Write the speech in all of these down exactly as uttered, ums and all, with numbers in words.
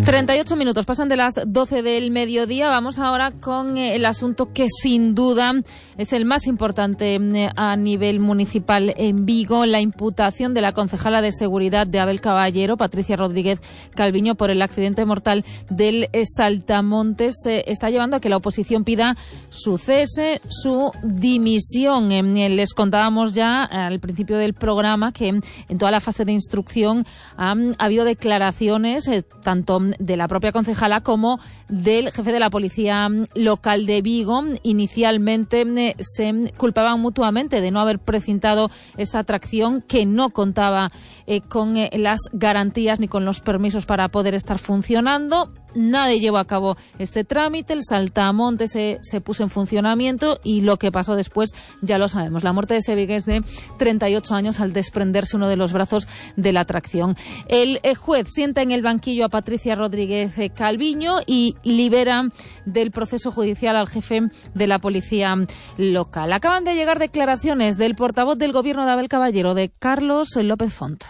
treinta y ocho minutos pasan de las doce del mediodía. Vamos ahora con el asunto que sin duda es el más importante a nivel municipal en Vigo, la imputación de la concejala de seguridad de Abel Caballero, Patricia Rodríguez Calviño, por el accidente mortal del Saltamontes. Está llevando a que la oposición pida su cese, su dimisión. Les contábamos ya al principio del programa que en toda la fase de instrucción ha, ha habido declaraciones eh, tanto de la propia concejala como del jefe de la policía local de Vigo. Inicialmente eh, se culpaban mutuamente de no haber precintado esa atracción que no contaba eh, con eh, las garantías ni con los permisos para poder estar funcionando. Nadie llevó a cabo ese trámite, el saltamontes se, se puso en funcionamiento y lo que pasó después ya lo sabemos. La muerte de ese vigués de treinta y ocho años al desprenderse uno de los brazos de la atracción. El juez sienta en el banquillo a Patricia Rodríguez Calviño y libera del proceso judicial al jefe de la policía local. Acaban de llegar declaraciones del portavoz del gobierno de Abel Caballero, de Carlos López Font.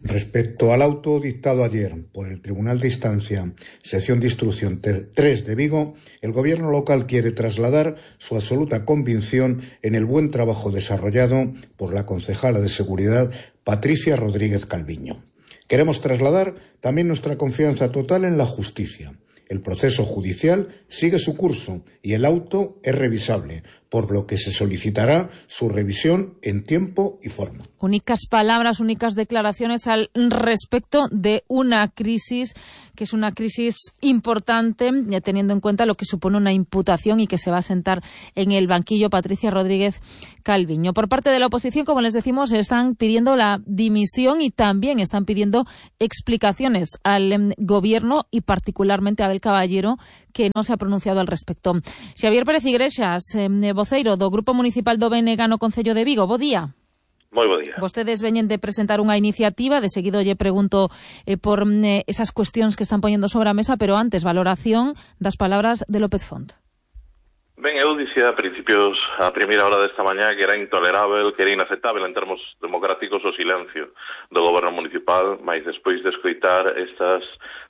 Respecto al auto dictado ayer por el Tribunal de Instancia, sección de instrucción tres de Vigo, el gobierno local quiere trasladar su absoluta convicción en el buen trabajo desarrollado por la concejala de seguridad Patricia Rodríguez Calviño. Queremos trasladar también nuestra confianza total en la justicia. El proceso judicial sigue su curso y el auto es revisable, por lo que se solicitará su revisión en tiempo y forma. Únicas palabras, únicas declaraciones al respecto de una crisis que es una crisis importante, ya teniendo en cuenta lo que supone una imputación y que se va a sentar en el banquillo Patricia Rodríguez Calviño. Por parte de la oposición, como les decimos, están pidiendo la dimisión y también están pidiendo explicaciones al eh, gobierno y particularmente a Abel Caballero, que no se ha pronunciado al respecto. Xavier Pérez Iglesias, eh, voceiro do Grupo Municipal do B N G no Concello de Vigo. Bo día. Moi bo día. Vostedes veñen de presentar unha iniciativa, de seguido lle pregunto eh, por eh, esas cuestións que están poñendo sobre a mesa, pero antes, valoración das palabras de López Font. Ben, eu dicía a principios, a primeira hora desta mañá, que era intolerável, que era inaceptável en termos democráticos o silencio do goberno municipal, mas despois de escoitar estas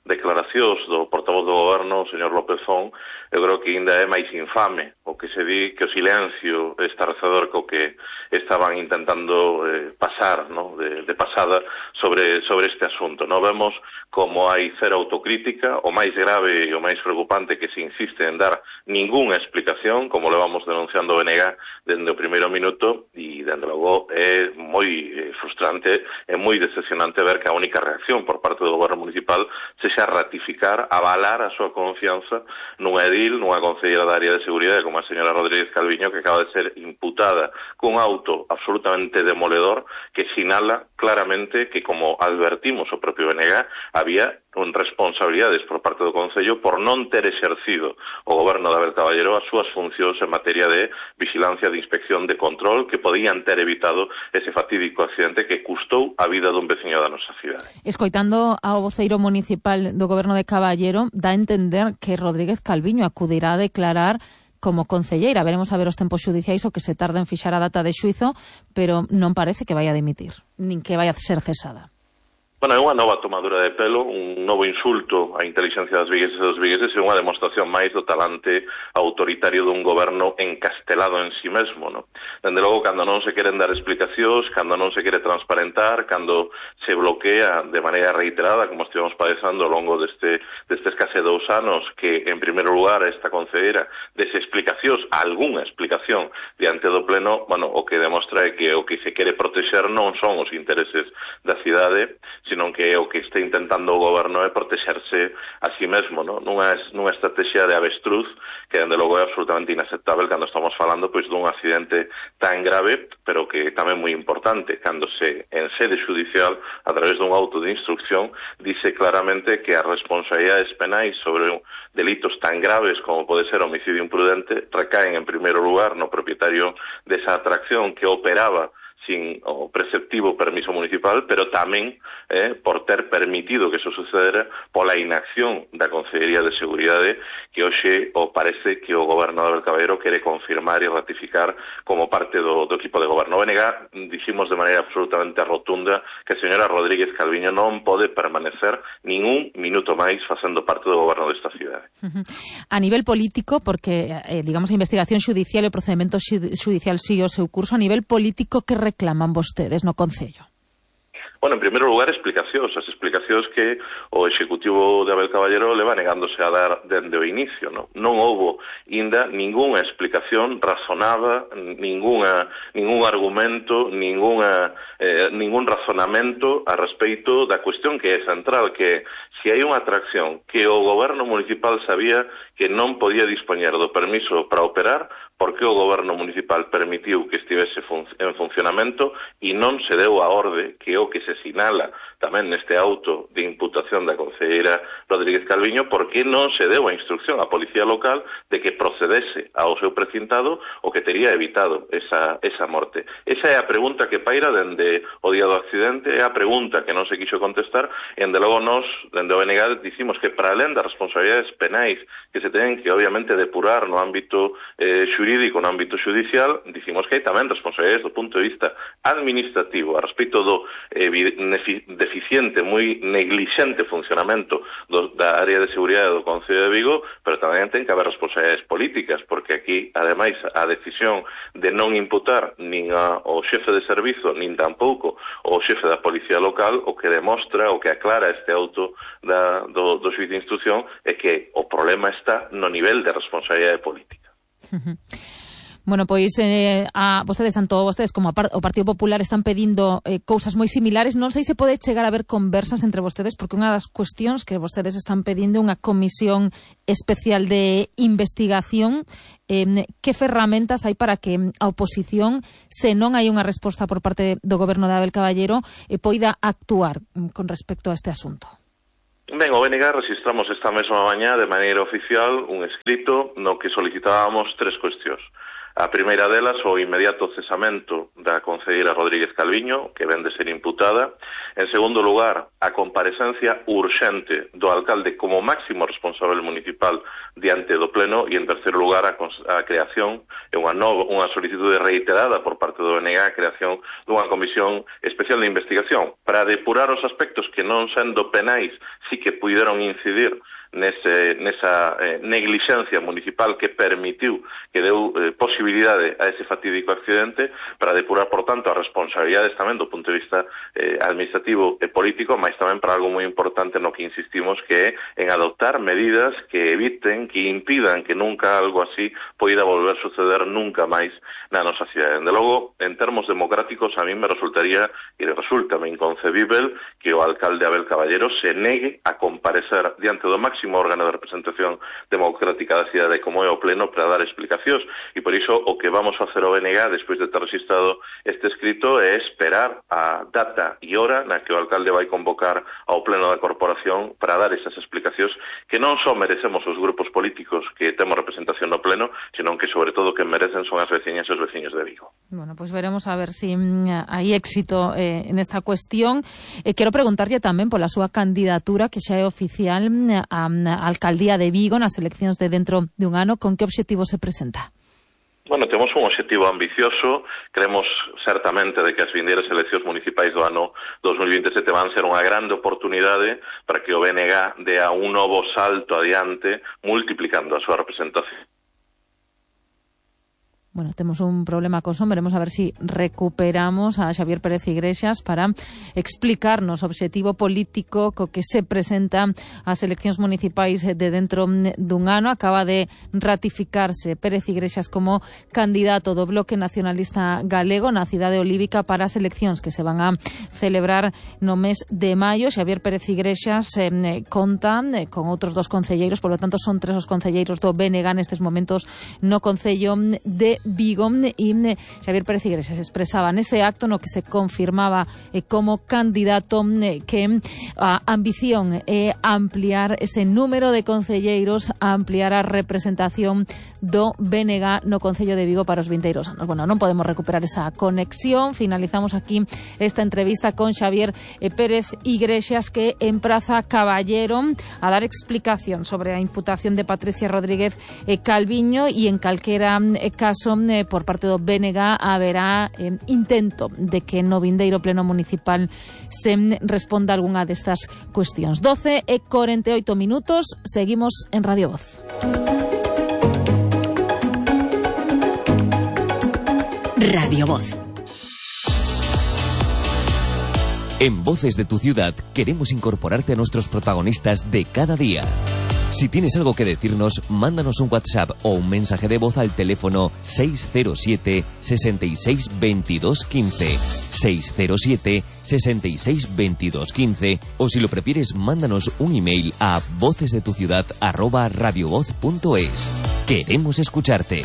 declaracións do portavoz do goberno, o señor López Font, eu creo que ainda é máis infame o que se di que o silencio estarrecedor co que estaban intentando eh, pasar, ¿no? de, de pasada sobre, sobre este asunto. No vemos como hai cero autocrítica, o máis grave e o máis preocupante que se insiste en dar ningunha explicación, como le vamos denunciando o B N G dende o primeiro minuto, e dende logo é moi eh, frustrante, é moi decepcionante ver que a única reacción por parte do goberno municipal se xa ratificar, avalar a súa confianza nunha edil, nunha concelleira da área de seguridade como a señora Rodríguez Calviño, que acaba de ser imputada cun auto absolutamente demoledor que sinala claramente que, como advertimos o propio B N G, había responsabilidades por parte do Concello por non ter exercido o goberno de Abel Caballero as súas funcións en materia de vigilancia, de inspección, de control, que podían ter evitado ese fatídico accidente que custou a vida dun veciño da nosa cidade. Escoitando ao voceiro municipal do goberno de Caballero, dá a entender que Rodríguez Calviño acudirá a declarar como concelleira. Veremos a ver os tempos xudiciais o que se tarda en fixar a data de xuizo, pero non parece que vai a dimitir, nin que vai a ser cesada. Bueno, é unha nova tomadura de pelo, un novo insulto á inteligencia das vigueses e dos vigueses e unha demostración máis do talante autoritario dun goberno encastelado en si mesmo, no? Dende logo, cando non se queren dar explicacións, cando non se quere transparentar, cando se bloquea de maneira reiterada, como estivemos padezando ao longo deste, destes case dous anos, que, en primeiro lugar, esta concedera dese explicacións, algunha explicación diante do pleno, bueno, o que demostra é que o que se quere protexer non son os intereses da cidade, sino que o que está intentando o goberno é protexerse a si mesmo, ¿no? nunha, nunha estrategia de avestruz que, dende logo, é absolutamente inaceptável cando estamos falando pois dun accidente tan grave, pero que tamén moi importante, cando se, en sede judicial, a través dun auto de instrucción, dice claramente que as responsabilidades penais sobre delitos tan graves como pode ser homicidio imprudente recaen, en primeiro lugar, no propietario desa atracción que operaba sin o preceptivo permiso municipal, pero tamén eh, por ter permitido que eso sucedera pola inacción da Consellería de Seguridade, que hoxe o parece que o goberno de Abel Caballero quere confirmar e ratificar como parte do, do equipo de goberno. O B N G diximos de maneira absolutamente rotunda que a señora Rodríguez Calviño non pode permanecer ningún minuto máis facendo parte do goberno desta cidade. A nivel político, porque, eh, digamos, a investigación xudicial e o procedimento xudicial sigue o seu curso, a nivel político, que reclaman vostedes no Concello? Bueno, en primeiro lugar, explicacións. As explicacións que o Executivo de Abel Caballero leva negándose a dar dende o inicio. Non, non houbo ainda ningunha explicación razonada, ninguna, ningún argumento, ninguna, eh, ningún razonamento a respeito da cuestión que é central, que se hai unha atracción que o goberno municipal sabía que non podía dispoñer do permiso para operar, porque o goberno municipal permitiu que estivese fun en funcionamento e non se deu a orde, que é o que se sinala tamén neste auto de imputación da concelleira Rodríguez Calviño, porque non se deu a instrucción á Policía Local de que procedese ao seu precintado o que tería evitado esa, esa morte. Esa é a pregunta que paira dende o día do accidente, é a pregunta que non se quixo contestar, e dende logo nós, dende o B N G, dicimos que para alén das responsabilidades penais que se ten que obviamente depurar no ámbito eh, xurídico, no ámbito judicial, dicimos que hai tamén responsabilidades do punto de vista administrativo a respecto do eh, deficiente, moi neglixente funcionamento do, da área de seguridade do Concello de Vigo, pero tamén ten que haber responsabilidades políticas, porque aquí, ademais, a decisión de non imputar nin ao xefe de servizo, nin tampouco ao xefe da Policía Local, o que demostra, o que aclara este auto da, do, do xuiz de instrucción é que o problema está no nivel de responsabilidade política. Bueno, pois eh, a vostedes, tanto vostedes como a par, o Partido Popular, están pedindo eh, cousas moi similares. Non sei se pode chegar a haber conversas entre vostedes, porque unha das cuestións que vostedes están pedindo é unha comisión especial de investigación. Eh, que ferramentas hai para que a oposición, se non hai unha resposta por parte do goberno de Abel Caballero, eh, poida actuar con respecto a este asunto? Ben, o B N G registramos esta mesma mañá de maneira oficial un escrito no que solicitábamos tres cuestións. A primeira delas, o inmediato cesamento da concelleira Rodríguez Calviño, que ven de ser imputada. En segundo lugar, a comparecencia urxente do alcalde como máximo responsable municipal diante do pleno. E en terceiro lugar, a, a creación, unha, nova, unha solicitude reiterada por parte do B N G, a creación dunha comisión especial de investigación para depurar os aspectos que non sendo penais sí que puderon incidir nese, nesa eh, neglixencia municipal que permitiu, que deu eh, posibilidade a ese fatídico accidente, para depurar, por tanto, as responsabilidades tamén do punto de vista eh, administrativo e político, mas tamén para algo moi importante no que insistimos, que é en adoptar medidas que eviten, que impidan que nunca algo así poida volver a suceder nunca máis na nosa cidade. De logo, en termos democráticos, a mí me resultaría, e resulta inconcebible, que o alcalde Abel Caballero se negue a comparecer diante do máximo órgano de representación democrática da cidade como é o pleno para dar explicacións, e por iso o que vamos facer o B N G despois de ter registrado este escrito é esperar a data e hora na que o alcalde vai convocar ao pleno da corporación para dar esas explicacións que non só merecemos os grupos políticos que temos representación no pleno, senón que sobre todo que merecen son as veciñas e os veciños de Vigo. Bueno, pois pues veremos a ver si mm, hai éxito eh, en esta cuestión. Eh, quero preguntarlle tamén pola súa candidatura, que xa é oficial mm, a a alcaldía de Vigo nas eleccións de dentro de un ano. Con que obxectivo se presenta? Bueno, temos un obxectivo ambicioso. Creemos certamente de que as vindeiras eleccións municipais do ano dos mil veintesete van ser unha grande oportunidade para que o B N G dé a un novo salto adiante, multiplicando a súa representación. Bueno, temos un problema co son, veremos a ver si recuperamos a Xavier Pérez Iglesias para explicarnos o obxectivo político co que se presenta as eleccións municipais de dentro dun ano. Acaba de ratificarse Pérez Iglesias como candidato do Bloque Nacionalista Galego na cidade olívica para as eleccións que se van a celebrar no mes de maio. Xavier Pérez Iglesias eh, conta eh, con outros dos concelleiros, por lo tanto son tres os concelleiros do B N G nestes momentos no Concello de Vigo, y Xavier Pérez Iglesias expresaba nese acto no que se confirmaba eh, como candidato eh, que a ambición é eh, ampliar ese número de concelleiros, a ampliar a representación do B N G no Concello de Vigo para os vindeiros anos. Bueno, non podemos recuperar esa conexión. Finalizamos aquí esta entrevista con Xavier eh, Pérez Iglesias, que empraza Caballero a dar explicación sobre a imputación de Patricia Rodríguez eh, Calviño, e en calquera eh, caso eh, por parte do B N G haberá eh, intento de que no vindeiro pleno municipal se responda algunha destas cuestións. doce e cuarenta y ocho minutos, seguimos en Radio Voz. Radio Voz. En Voces de tu Ciudad queremos incorporarte a nuestros protagonistas de cada día. Si tienes algo que decirnos, mándanos un WhatsApp o un mensaje de voz al teléfono seis cero siete, seis seis, veintidós, quince, seis cero siete, seis seis, veintidós, quince, o si lo prefieres, mándanos un email a vocesdetuciudad arroba radiovoz punto es. Queremos escucharte.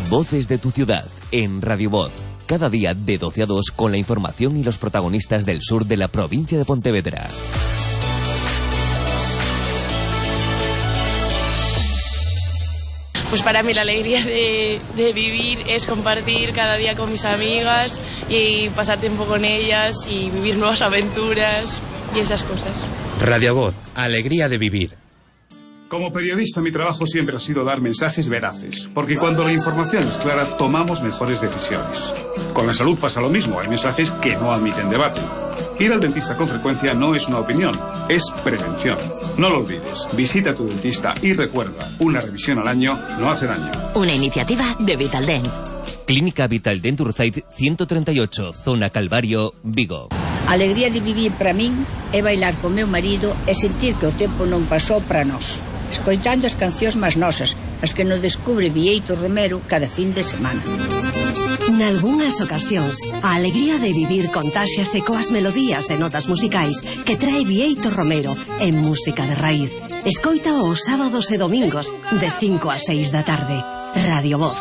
Voces de tu Ciudad en Radio Voz. Cada día de doce a dos con la información y los protagonistas del sur de la provincia de Pontevedra. Pues para mí la alegría de, de vivir es compartir cada día con mis amigas y pasar tiempo con ellas y vivir nuevas aventuras y esas cosas. Radio Voz, alegría de vivir. Como periodista, mi trabajo siempre ha sido dar mensajes veraces, porque cuando la información es clara, tomamos mejores decisiones. Con la salud pasa lo mismo, hay mensajes que no admiten debate. Ir al dentista con frecuencia no es una opinión, es prevención. No lo olvides, visita a tu dentista y recuerda, una revisión al año no hace daño. Una iniciativa de Vitaldent. Clínica Vitaldent Urzaiz ciento treinta y ocho, Zona Calvario, Vigo. A alegría de vivir para min é bailar con meu marido e sentir que o tempo non pasou para nós, escoitando as cancións máis nosas, as que nos descubre Vieito Romero cada fin de semana. Nalgúnas ocasións, a alegría de vivir contáxiase coas melodías e notas musicais que trae Vieito Romero en música de raíz. Escoita os sábados e domingos de cinco a seis da tarde. Radio Voz.